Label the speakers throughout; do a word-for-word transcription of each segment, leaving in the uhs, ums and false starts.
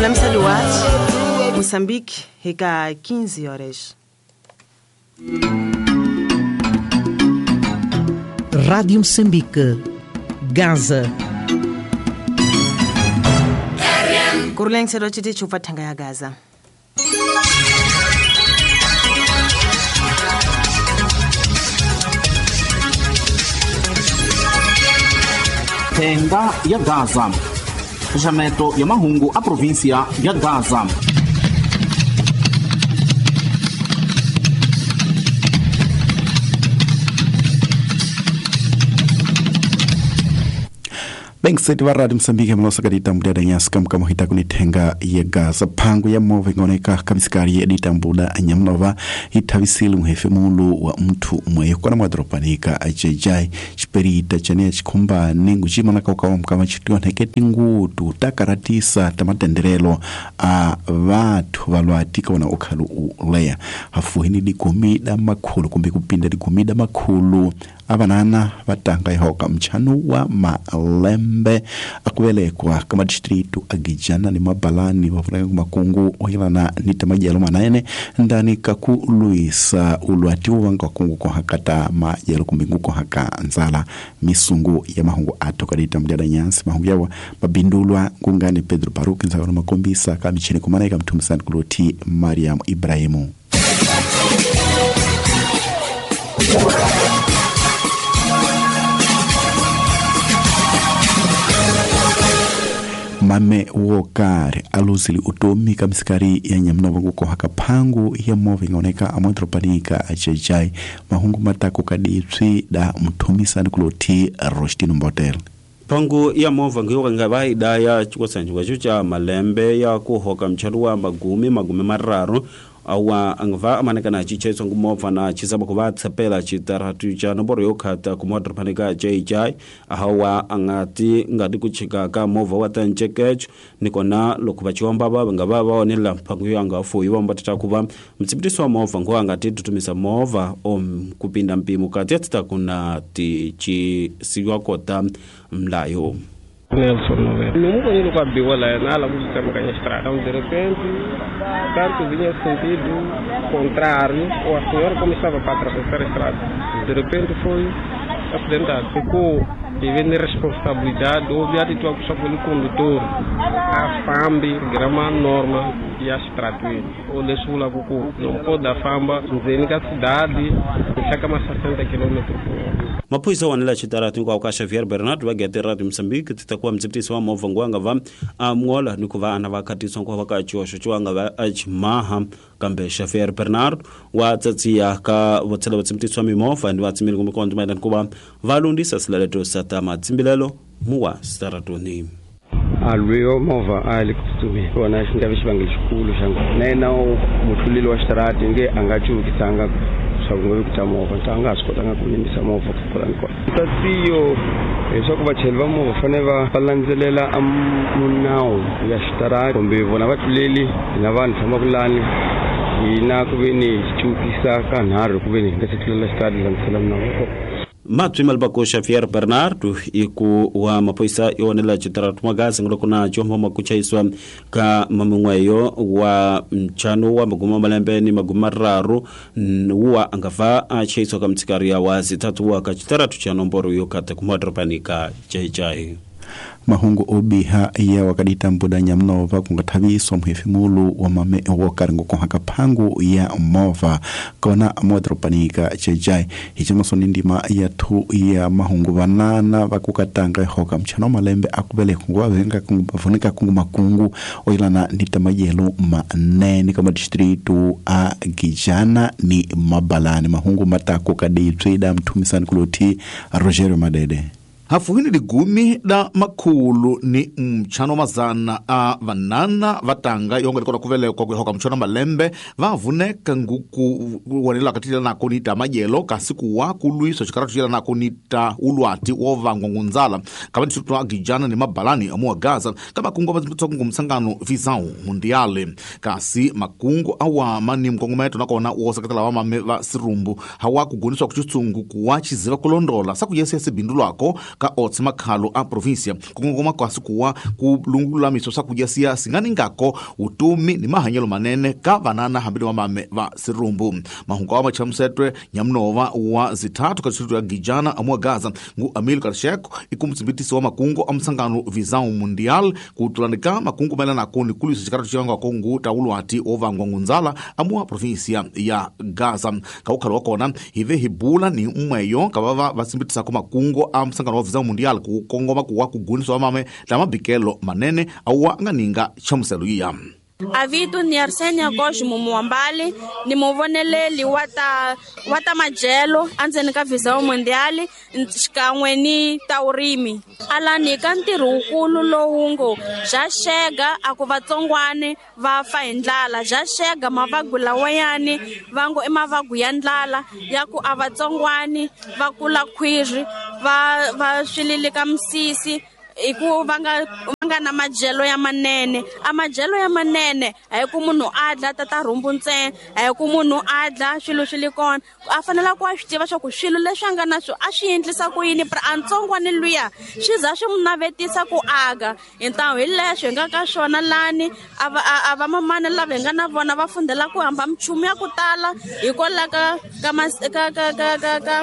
Speaker 1: Kulamisa Duarte, Moçambique, reka quinze horas.
Speaker 2: Rádio Moçambique, Gaza.
Speaker 1: Kuruleng serochiti chufa tanga ya Gaza.
Speaker 3: Tenda ya Gaza. Fechamento ya mahungu a província ya Gaza.
Speaker 4: Bem sete wa Radio Moçambique mlosa kadita mbuda nyasi kam kama hita kunitenga ya Gaza pango ya move ngoneka kamisikari ya ditambuda nyamnova ithavisile muhefe mulu wa mtu mwe kona mwadropanika ajejai chiperita chane chikhumba ningu chimana kaukawa mkama chitiwa nheketi ngutu takaratisa tamatenderelo a vathu valwatika wana ukhalu uleya hafuhini digumida makhulu kumbe kupinda digumida makhulu avanana vatanga ihoka mchanu wa malembe akuvelekwa kama distritu agijana ni mabalani vavulaka makungu ohilana ni tamajelo manaene ndani kakuluisa ulwati wanga kungu kohakata majelo kumbingu kohaka nzala misungu ya mahungu ato kadita mdyada nyansi mahungu yawa mabindulwa ngungani Pedro Baruki nzakano makombisa kamichini kumanaika mtumisani kuloti Mariam Ibrahimu. Mame wokari aluzili utomi kamisikari ya nyamnova kukohaka phangu ya move ingaoneka amodropanika achejai mahungu matako kadipsi da mthumisani kuloti Rostino Mbotel.
Speaker 5: Pangu ya mova ngiyo ngaba idaya chikosanjwa cha malembe ya kuhoka mchalo wa magumi magumi mararu awa angva amanekana chicheso ngumova na chisaba kuva tsepela chitaratu cha nomboro yokhata kumodropanika J J ahawa angati ngati kuchika ka mova wa tanchekecho nikona lokuba chiomba baba ngaba baonela pangu yanga fuyi bomba titakuba mtsipitiso wa mova ngo angati tutumisa mova om kupinda mpimo kati titakuna ti chi kota mlayo
Speaker 6: Nelson Noveira. Nunca ele com a biola na ala busca a estrada. Então, de repente, tanto vinha sentido contrário, ou a senhora como estava para atravessar a estrada. De repente foi acidentado. Ficou devendo responsabilidade, houve a só pelo condutor. A FAMB, grama norma e a estrada. O Lesula Cucu, não pode a FAMBA, na cidade, chega mais sessenta quilômetros por hora.
Speaker 5: Maphorisa wanela chitaratu kwa ka Xavier Bernard wa gete Radio Moçambique titakuwa mtsipitisi wa movha ngwanga va amwola ni kuva ana va khatiswa nkuva ka choxo xo va achimaha kambe Xavier Bernard wa tsatsiya ka votshela vatsipitisi wa mimovha ni vatsimeli kumbe konto mayelana kuva va lundisa silaleto sa ta matsimbilelo muwa staratoni
Speaker 7: alwiyo movha a le kutsutsumeni vona xi nga vi xivangelo xikulu xa na yena mutluleli wa xitarati nge a nga cuvukisanga swa ku nga movha a nga ha swi kotanga ku yimisa movha ku kona ni kona tatiyo leswaku vachayeri va movha fanele va va landzelela a munawu ya xitarati kumbe vona vatluleli hina vanhu tshamaka lani hina ku ve ni cuvukisa ka nharhu ku ve ni hi nga se tlulela xitarati landzelela minawu.
Speaker 5: Matwi malbako Xavier Bernard iku wa maphorisa yonela chitaratu magazi ngoloko na chombo makuchaiswa ka mamungweyo wa mchano wa maguma malembe ni maguma raru wa angava achaiswa ka mtsikari ya wazi tatu wa ka chitaratu cha nomboro yokata kumadropanika chaichai.
Speaker 4: Mahungu obiha ya wakadita mbuda nyamnova kungathaviswa muhefimulu wa mame wokaringo kohaka phangu ya mova kona modropanika chejai hichimaso ni ndima ya thu ya mahungu vanana vakukatanga ihoka mchano malembe akuvele kungu venga kungu vavunika kungu makungu oilana ni tamajelo manene kama distritu a Gijana ni Mabalani. Mahungu matako kaditswida mthumisani kuloti Rogerio Madede.
Speaker 3: Hafuhini ligumi da makhulu ni mchano mazana a vanana vatanga yonge likona kuvelekwa kuhoka mchano malembe vavuneka nguku wanela katila na konita majelo kasi kuwa kulwiso chikaratu chila na konita ulwati wovangwa ngunzala kama distritu a Gijana ni Mabalani amuwa Gaza kama kungu wa msangano visau mundiale kasi makungu awama ni mkongometo nakona wosakatala wa mame va sirumbu hawa kuguniswa kuchitsungu kuwa chiziva kulondola saku yesi yesi bindu lwako ka otse makhalo a província kukongoma kasi kuwa ku lungulamiso swakudya siya singaningako utumi ni mahanyelo manene ka vanana hambi ni vamame va sirumbu. Mahungu awa machamusetwe nyamunova wa zithathu ka distrito ya Gijana amua Gaza ngu Amil Karsheko ikumtsimbitisi wa makungu a msangano Visão Mundial kutulanika makungu maelana ni kulisa xikaratu xivangwako ngu taulwati ovangwa ngunzala amua província ya Gaza. Kaukhalo wa kona hive hibula ni umweyo kavava vasimbitisako makungu a msangano wa Visão Mundial ku kongoma kuwa kuguniswa vamame la mabikelo manene auwa nganinga chamuselo iya.
Speaker 8: Avitu ni Arsenia Cosmo Muambali ni muvoneleli wa ta wa ta majelo andzeni ka Visão Mundial xikan'we ni taurimi alani ka ntirho wukulu lowu ngo bya xega a ku vatsongwane va fa hi ndlala bya xega mavagu lawayani va ngo i mavagu ya ndlala ya ku a vatsongwani va kula khwiri va va swililika misisi i ku va nga va nga na madyelo ya manene. A madyelo ya manene a hi ku munhu a dla tata rhumbu ntsena, a hi ku munhu a dla swilo swi le kona, a fanele ku a swi tiva swa ku swilo leswi a nga na swo a swi endlisa ku yini a ntsongwana luya swi za swi n'wi navetisa ku aka. Hintawu hi leswi hi nga ka swona lani a va a va mamana lava hi nga na vona va fundela ku hamba minchumu ya ku tala hikwalaho ka ka ka ka ka ka ka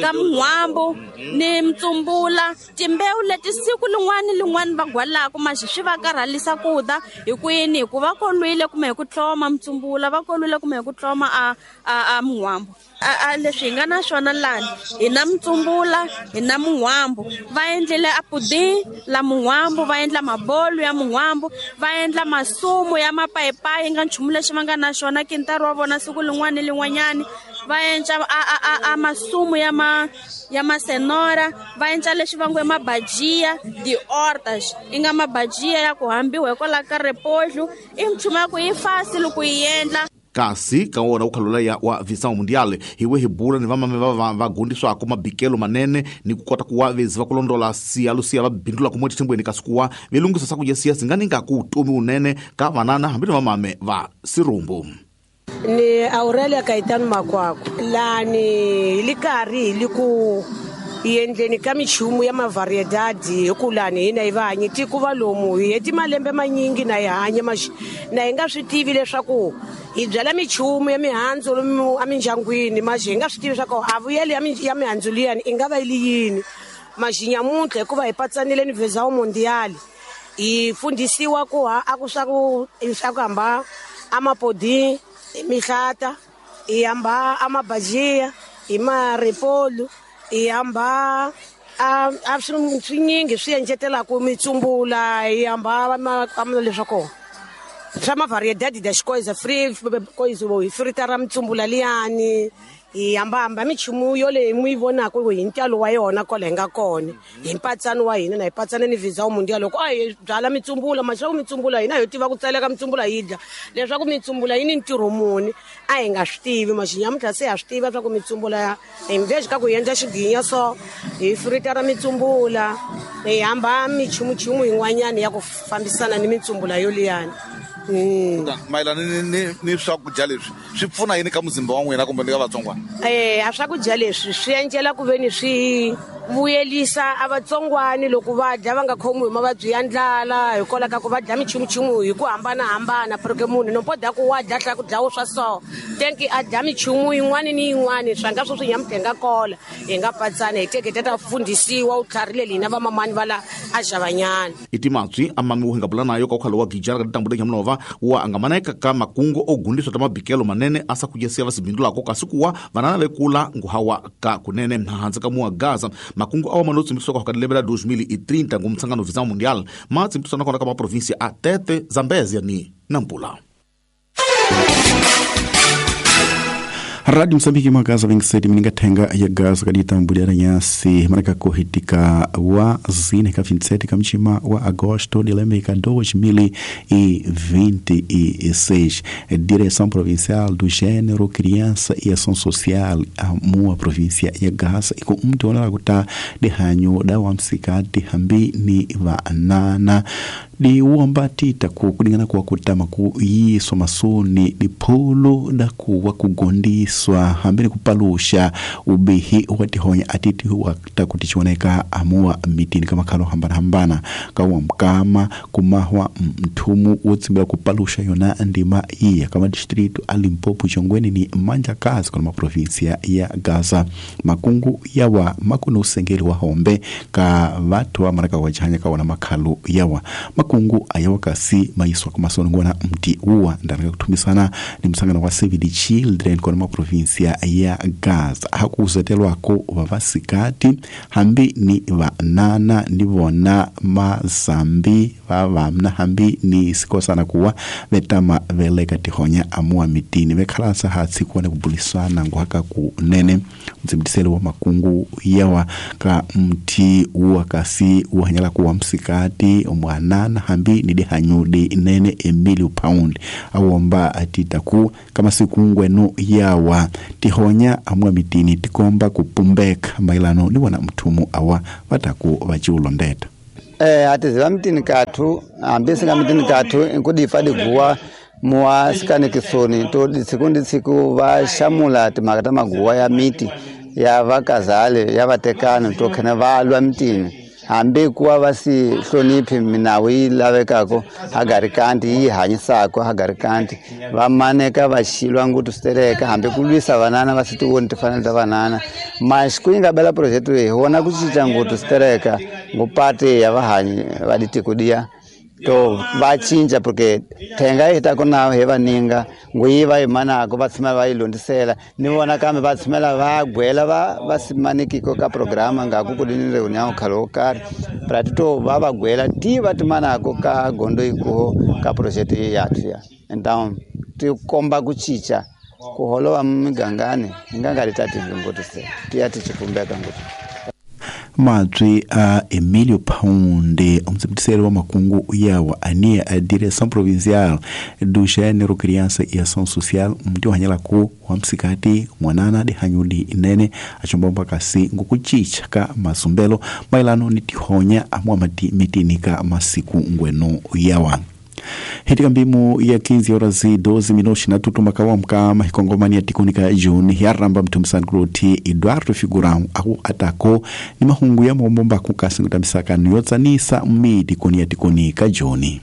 Speaker 8: ka muhwambu ni mtsumbula timbewu leti siku lin'wana lin'wana va gwalaka maxi swi va karhalisa ku da hi ku yini hi ku va kolwile kumbe hi ku tlhoma mtsumbula va kolwile kumbe hi ku tlhoma a a a muhwambu. A leswi hi nga na swona lani hi na mtsumbula hi na muhwambu va endlile a pudding la muhwambu va endla mabolo ya muhwambu va endla masumu ya mapayipayi nga nchumu lexi va nga na xona kintari wa vona siku lin'wana lin'wanyani va endla a a a masumu ya ma ya masenora va endla leswi va ngo mabajia di hortas i nga mabajia ya ku hambiwa hikwalaho ka repolho i nchumu ya ku yi fasi loko yi endla.
Speaker 3: Kasi ka wona ukhalola ya wa Visão Mundial hiwe hibula ni vamame va va gundiswako mabikelo manene ni ku kota ku wa vezi va ku londola siya lusiya va bindula ku motithembweni kasi kuwa velungisa swakudya siya singaninga ku utomi unene ka vanana hambi ni vamame va sirumbu.
Speaker 9: Ni Aurelia Caetano Makwako lani li karhi li ku endleni ka minchumu ya mavariedadi hi ku lani hina hi va hanyi tiko va lomu hi heti malembe manyingi na hi hanya na hi nga swi tivi leswaku hi byala minchumu ya mihandzu lomu emindyangwini maxi hi nga swi tivi leswaku a vuyeli ya mihandzu liyani i nga va yi li yini maxi nyamuntlha hikuva hi patsanile ni Visão Mundial hi fundhisiwa ku ha a ku swa ku swa ku hamba amapodi mihlata hi hamba amabajia hi maripolu hi hamba a a swinyingi swi endletelaka mitsumbula hi hamba leswa kona swa mavariedade das coisas free coisa hi fritara mitsumbula liyani hi hambahamba minchumu yoleyi mi yi vonaka hi ntalo wa yona kwala hi nga kona hi mpatsano wa hina na hi patsana ni Visão Mundial loko a hi byala mitsumbula maswaku mitsumbula hina hi tiva ku tseleka mitsumbula hi dya leswaku mitsumbula yi ni ntirho muni a hi nga swi tivi maxi nyamuntlha se ha swi tiva swa ku mitsumbula hi mveji ka ku endla xiginya so hi fritara mitsumbula hi hamba minchumuchumu yin'wanyana ya ku fambisana ni mitsumbula yoliyani.
Speaker 3: Mayelana ni ni ni swakudya leswi swi pfuna yini ka muzimba wa n'wina kumbe ni ka vatsongwana?
Speaker 9: Eh a swakudya leswi swi endlela ku veni swi vuyelisa a vatsongwani loko va dya va nga khomiwi hi mavabyi ya ndlala hikwalaho ka ku va dya minchumuchumu hi ku hambanahambana porque munhu no boda ku wa dya tlhela ku dlawo swa so tenki a dya minchumu yin'wana ni yin'wana swa nga swo swi nyamutlha hi nga kola hi nga patsana hi teke ta fundhisiwa u tlharile hina vamamani va la a xavanyana.
Speaker 3: I timatswi a mami wu hi nga bula nayo ka ukhalo wa Gijana ka ditambule nyamunova wa angamaneka ka makungu o gundiswa ta mabikelo manene a sa kudya siya va sibindulako kasi kuwa vanana vekula nguhawa ka kunene hansi ka muwa Gaza. Makungu awa manotsimbiswa ka lembe la dois mil e trinta ngumtsangano Visão Mundial matsimbiswa nakona ka maprovinsia a Tete, Zambezia ni Nampula.
Speaker 4: Rádio Moçambique magaza vinte e sete mininga tenga ya gaza kadita mbudiana nyasi manaka kuhitika wa zine ka vinte e sete kamchima wa agosto de lembe ka dois mil e vinte e seis. Direção Provincial do Gênero, Criança e Ação Social a mua província ya Gaza iko mtu ona kuta de hanyo da wa msikati hambi ni va nana Diwomba tita ku kulingana kuwa kutama ku yiswa masoni diphulu dakuwa kugondiswa hambeni kupalusha ubihi watihonya atiti watakuti chioneka amuwa mitini kama khalo hambana hambana kawa mkama kumahwa mthumu wotsimbila kupalusha yona ndima iya kama distrito a Limpopo chongweni ni manja kazi kuna maprovinsia ya Gaza. Makungu yawa makuna usengeli wa hombe ka vatu wa maraka wajanya kawana makhalo yawa makungu ayawa kasi maiswa kumasonongona mti uwa ndanaka kutumisana ni msangano wa Save the Children kuna maprovinsia ya Gaza hakuzetelwako vavasikati hambi ni vanana nivona mazambi vavamna hambi ni sikosana kuwa vetama veleka tihonya amua mitini vekhalasa hatsi kuwa kubulisana nguhaka kunene mdzimtisele wa makungu yawa ka mti uwa kasi uhanyala kuwa msikati mwanana hambi ni dihanyudi nene Emilio Pound awomba atitaku kama sikungwenu yawa tihonya amua mitini tikomba kupumbeka mailano ni wana mthumu awa vataku vaciulondeta.
Speaker 10: Eh atiziva mitini kathu hambi singa mitini kathu nkudifa diguwa muwa sikane kisoni to tsiku ndi tsiku va xamula timhaka ta maguwa ya miti ya vakazale ya vatekani to khene va lwa mitini hambi kuwa va si hloniphi minawu yi lavekako hagarikanti yi hanyisako hagarikanti va maneka va xilwa nguthu switereka hambi ku lwisa vanana va si tivoni timfanelo ta vanana mas ku yi nga bela project leyi hi vona ku cinca nguthu switereka ngupati ya vahanyi va ditiko diya to va cinca porque thenga yi ta ku na hi vaninga nguyi va yi manako va tshama va yi londisela ni vona kambe va tshamela va gwela va va simanikiko ka programa nga ku ku ni reunião khale wo karhi prati to va va gwela ti va timanako ka gondo ikuho ka project yathu ya então ti komba ku cinca ku holova migangani hi nga nga ri ta tivingoti se ti ya ti chipumbeka ngopfu.
Speaker 4: Madri a Emilio Pound, umtsimtiseli wa makungu yawa ania a Direção Provincial do Gênero, Criança e Ação Social mti uhanyala ku wa msikati mwanana dihanyudi nene achombomba kasi ngukuchicha ka masumbelo mailano ni tihonya amwa mati mitini ka masiku ngweno yawa. Hitika mbimu ya quinze horas e doze minutos na tutuma kawa mkama hikongomani ya tikunika juni yaramba mtumisani kuloti Eduardo Figurão aku atako ni mahungu ya mombomba kukasi ngutamisaka niyotsanisa mmidi koni ya tikunika juni.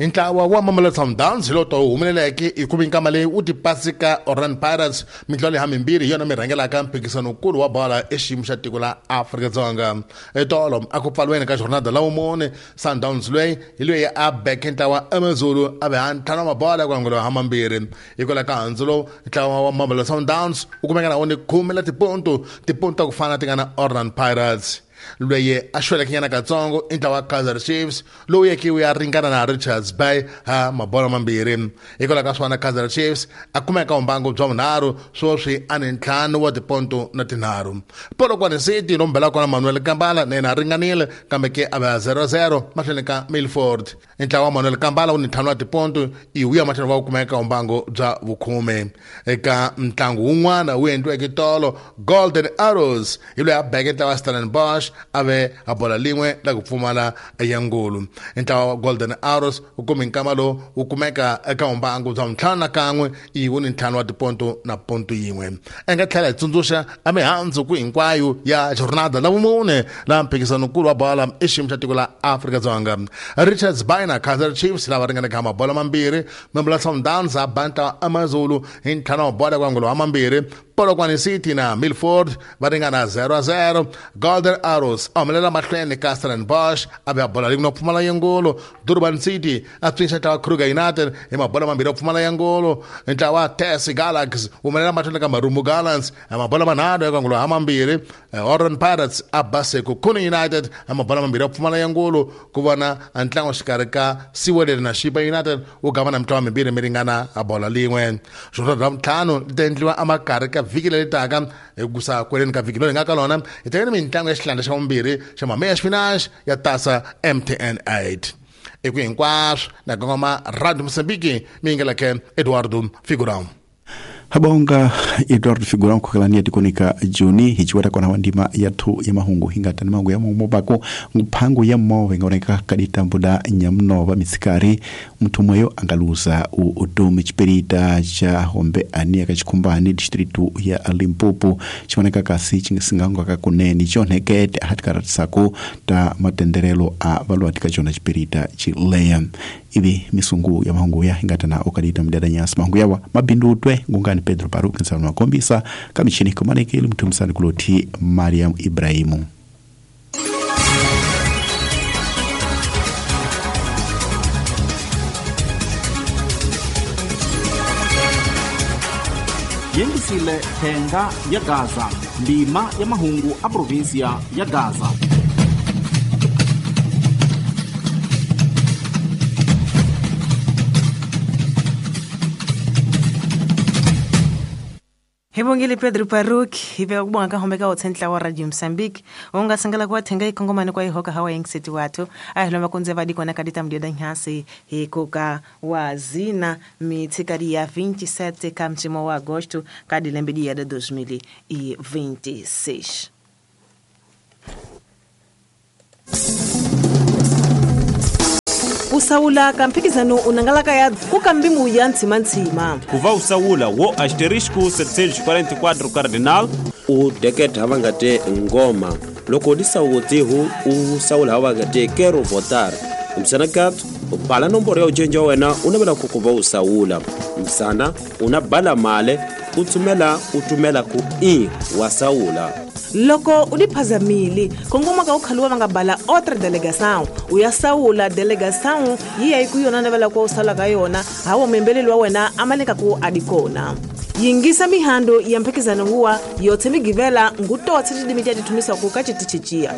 Speaker 11: Ntlawa wa Mamelodi Sundowns hi loto humeleleke hi ku minkama leyi wu tipasika Orlando Pirates mitlawa leyi hamimbirhi hi yona mi rhangelaka mphikizanokulu wa bola exiyimo xa tiko la Afrika-Dzonga. Etolo a ku pfaliweni ka jornada la vumune Sundowns loyi hi loyi a beke ntlawa AmaZulu a ve ha ntlhanu wa mabola ku angula ha mambirhi. Hikwalaho ka handzu lowu ntlawa wa Mamelodi Sundowns wu kumeka na wona khume la tiponto tiponto ta ku fana ti nga na Orlando Pirates. Loyi a xweleke nyana katsongo i ntlawa wa Kaizer Chiefs lowu yeke wu ya ringana na Richards Bay ha mabola mambirhi. Hikwalaho ka swona Kaizer Chiefs a kumeka vumbangu bya vunharhu sweswi a ni ntlhanu wa tiponto na tinharhu. Polokwane City lomu belaka kona Manuel Kambala na yena a ringanile kambe ke a va zero zero mahlweni ka Milford. Ntlawa wa Manuel Kambala wu ni ntlhanu wa tiponto i wu ya mahlweni va kumeka vumbangu bya vukhume. Eka ntlangu wun'wana wu endliweke tolo Golden Arrows hi loyi a beke ntlawa wa Stellenbosch ave a bola lin'we la ku pfumala ya ngulu. Ntlawa wa Golden Arrows wu kume nkama lowu wu kumeka eka vumbangu bya ntlhanu na kan'we i wu ni ntlhanu wa tiponto na ponto yin'we. A nga tlhela hi tsundzuxa a mihandzu ku hinkwayo ya jornada la vumune la mphikizanokulu wa bola exiyimo xa tiko la Afrika-Dzonga. Richards Bay na Kaizer Chiefs lava ringanaka ha mabola mambirhi Mamelodi Sundowns a ba ntlawa AmaZulu hi ntlhanu wa bola ku angula wa mambirhi. Polokwane City na Milford va ringana zero zero. Golden Arrows a humelela mahlweni ka Stellenbosch a ve a bola rin'we na pfumala ya ngolo. Durban City a pfinxa ntlawa Kruger United hi mabola mambirhi ya pfumala ya ngolo. Ntlawa Tesi Galaxy wu humelela mahlweni ka Marumo Gallants hi mabola manharhu ya ku ha mambirhi. Orlando Pirates a ba Sekhukhune United hi mabola mambirhi ya pfumala ya ngolo. Ku vona ntlangu xikarhi ka Siwelele na Chipa United wu gavana mitlawa mimbirhi mi ringana a bola lin'we. Jornada ra ntlhanu li ta endliwa emakarhi ka vhiki leri taka hi kusa kweleni ka vhiki leri nga ka lona hi tekeni mintlangu ya xihlandla xa vumbirhi xa mameya xipinachi ya tasa M T N eight. Eku hinkwaswo na kongoma Radio Mozambique mi yingeleke Eduardo Figurão.
Speaker 4: Habonga Eduardo Figurão kukalania tikonika Juni hichiwata kona wandima yathu ya mahungu hingata ni mahungu ya mumobako mphango ya move ngaoneka kaditambuda nyamnova mitsikari muthu mweyo angaluza udomi chiperita cha hombe ani akachikumbani distritu ya Limpopo chioneka kasi chingisingangwa kakuneni chonhekete ahatikaratisako ta matenderelo a valuatika chona chiperita chileya ivi misungu ya mahungu ya hingatana okadita mdada nyasi mahungu yawa mabindutwe ngungani Pedro Paru kinsana makombisa kamichini komanekeli mtumisani kuloti Mariam Ibrahimu.
Speaker 3: Yengisile thenga ya Gaza ndima ya mahungu a provinsia ya Gaza.
Speaker 1: Hibongile Pedro Paruk hibe ukubonga kahombe ka otsenhla wa Radio Mozambique ungasangela kwa thenga ikongomane kwa ihoka hawa yengiseti wathu ahiloma kunze vadi kona kadita mdioda nyasi hikoka wazina mitsikadi ya vinte e sete ka mtimo wa agosto kadi lembe ya dois mil e vinte e seis. Usaula kamphikizano unangalaka ya kukambimu ya ntsima-ntsima
Speaker 5: kuva usaula wo asterisco setecentos e quarenta e quatro cardinal
Speaker 12: u deketa vangate ngoma loko disawutihu u saula vangate quero votar msana kat bala nomboro ya ujenja wena unavela kukuva usaula msana una bala male utumela utumela ku i wa saula
Speaker 1: loko udiphazamile kongoma ka ukhaluwa vanga bala outra delegação uya saula delegação yiya ikuyona navela kwa usala ka yona hawo membeleli wa wena amaleka ku adikona yingisa mihando ya mphikizano huwa yothe migivela ngutotse tidimi tya tithumisa ku ka chitichichiya.